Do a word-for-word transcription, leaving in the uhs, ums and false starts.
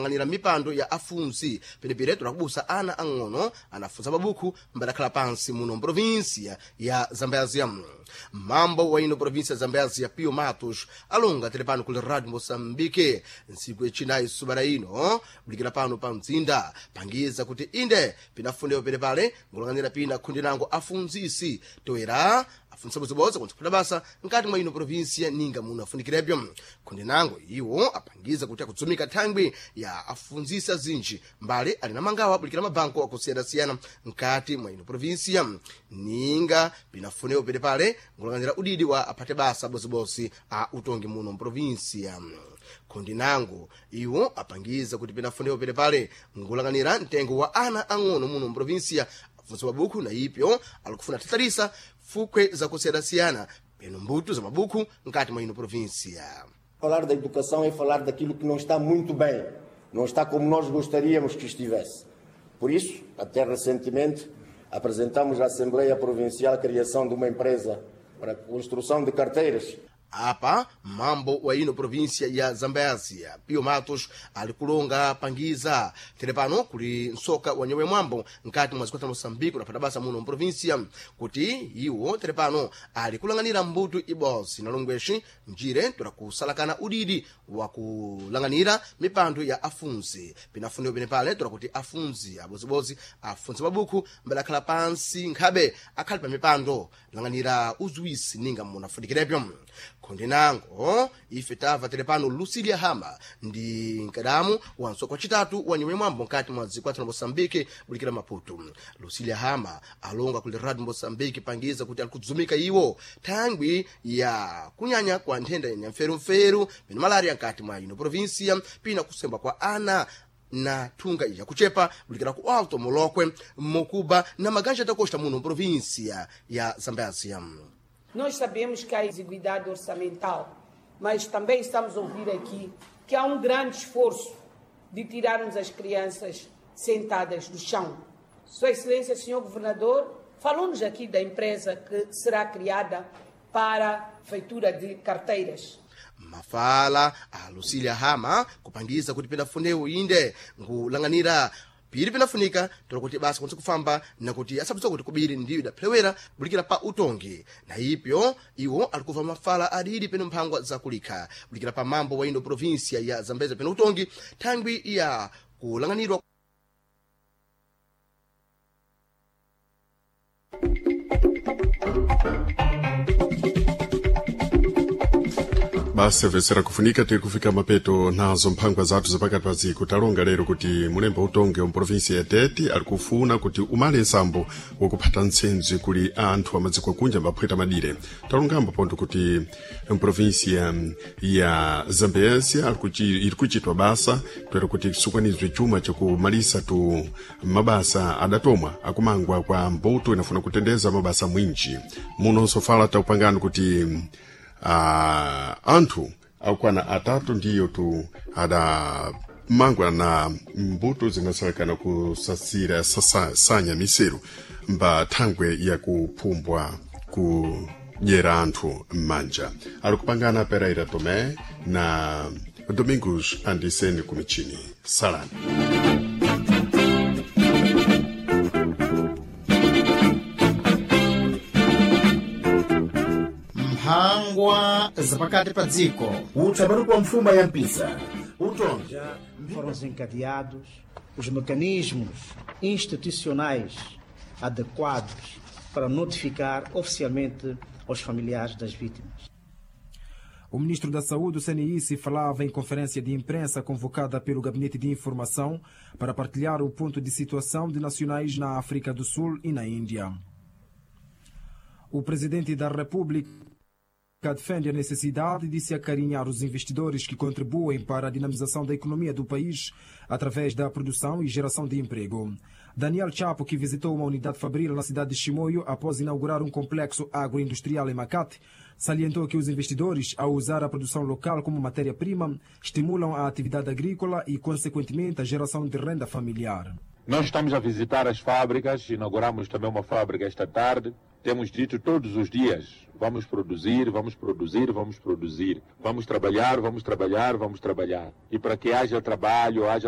Ng'anira mipando ya afunzi penepere tulakubusa ana ang'ono anafunza mabuku mbadakhala pansi muno mprovinsia ya Zambézia. Mambo wa ino província ya Zambézia, Pio Matos, alonga tele pano kuli Radio Moçambique ntsiku yacinayi subara ino bulikira pano pa mzinda pangiza kuti inde pinafundewo pene pale ngulang'anira pina khundi nango afunzisi toera afunsa bozibodzi kuntsuphata basa nkati mwa ino província ninga muno afunikirebyo. Khundi nango iwo apangiza kuti akudzumika thangwi ya afunzisi azinji mbali ali na mangawa abulikira mabanko akusiyana-siyana nkati mwa ino província ninga pinafunewo pene pale ngulang'anira udidi wa aphate basa bozibodzi a utongi muno mprovinsia. Khundi nango iwo apangiza kuti pinafunewo pene pale ngulang'anira mtengo wa ana ang'ono muno mprovinsia afunsa mabuku na ipyo alikufuna tatalisa fukwe zakusiyana-siyana peno mbuto za mabuku nkati mwa ino província. Falar da educação é falar daquilo que não está muito bem, não está como nós gostaríamos que estivesse. Por isso, até recentemente, apresentamos à Assembleia Provincial a criação de uma empresa para a construção de carteiras. Apa mambo wa ino província ya Zambézia, Pio Matos, ali kulonga pangiza tere pano kuli msoka wa nyewe mwambo nkati mwa zikwata Moçambique unapata basa muno mprovíncia kuti iwo tere pano ali kulang'anira mbuto ibodzi na longweshi njire tola kusalakana udidi wa kulang'anira mipando ya afunzi pinafunewo pene pale tola kuti afunzi abozibodzi afunze mabuku mbadakhala pansi nkhabe akhali pa mipando lang'anira uziwisi ninga munafunikirepyo. Khundi nango ife tamva tere pano Lucilia Hama ndi mkadamu wa msoko wacitatu wa nyumba mwambo nkati mwa dziko la Moçambique bulikira Maputo. Lucilia Hama alonga kuli Radio Moçambique pangiza kuti alikudzumika iwo thangwi ya kunyanya kwa nthenda ya nyamferumferu peno malaria nkati mwa ino província pina kusemba kwa ana na thunga iya kuchepa bulikira ku Alto Molokwe, Mocuba na Maganja da Costa muno província ya Zambézia. Nós sabemos que há exiguidade orçamental, mas também estamos a ouvir aqui que há um grande esforço de tirarmos as crianças sentadas do chão. Sua Excelência, Senhor Governador, falou-nos aqui da empresa que será criada para a feitura de carteiras. Mafala a Lucília Hama kupangiza kuti pinafunewo inde nkulang'anira pili pinafunika tola kuti basa kwanisa kufamba nakuti asabisa kuti kubiri ndiyo idaphewera bulikira pa utongi na ipyo iwo alikuva mafala adidi peno mphangwa zakulikha bulikira pa mambo wa ino província ya Zambézia peno utongi thangwi ya kulang'anirwa. Basi vesera kufunika tiri kufika mapeto nazo mphangwa zathu zapakati pa dziko. Talonga lero kuti mulembo utonge wa provinsi ya Tete ali kufuna kuti umale nsambo wakuphata ntsenzi kuli anthu amadziko akunja ambaphweta madire. Talongambo ponto kuti mprovinsi ya, ya Zambézia iri kuchitwa basa toera kuti sukwanizwe chuma chakumalisa tu mabasa adatomwa akumangwa kwa mbuto inafuna kutendeza mabasa mwinji muno. Sofala taupangani kuti uh, anthu akukwana atatu ndiyo tu adamangwa na mbuto zinasalekana kusasira sasa, sanya miseru mba thangwe yakuphumbwa kudyera anthu m'manja. Ali kupangana Pereira Tomé na Domingos Andiseni kumichini. Salani. Mphangwa zapakati pa dziko. Utsapatu kwa mfuma ya mpisa utonja. Foram desencadeados os mecanismos institucionais adequados para notificar oficialmente aos familiares das vítimas. O ministro da Saúde, o C N I C, falava em conferência de imprensa convocada pelo Gabinete de Informação para partilhar o ponto de situação de nacionais na África do Sul e na Índia. O presidente da República defende a necessidade de se acarinhar os investidores que contribuem para a dinamização da economia do país através da produção e geração de emprego. Daniel Chapo, que visitou uma unidade fabril na cidade de Chimoio após inaugurar um complexo agroindustrial em Macate, salientou que os investidores, ao usar a produção local como matéria-prima, estimulam a atividade agrícola e, consequentemente, a geração de renda familiar. Nós estamos a visitar as fábricas, inauguramos também uma fábrica esta tarde. Temos dito todos os dias: vamos produzir, vamos produzir, vamos produzir. Vamos trabalhar, vamos trabalhar, vamos trabalhar. E para que haja trabalho, haja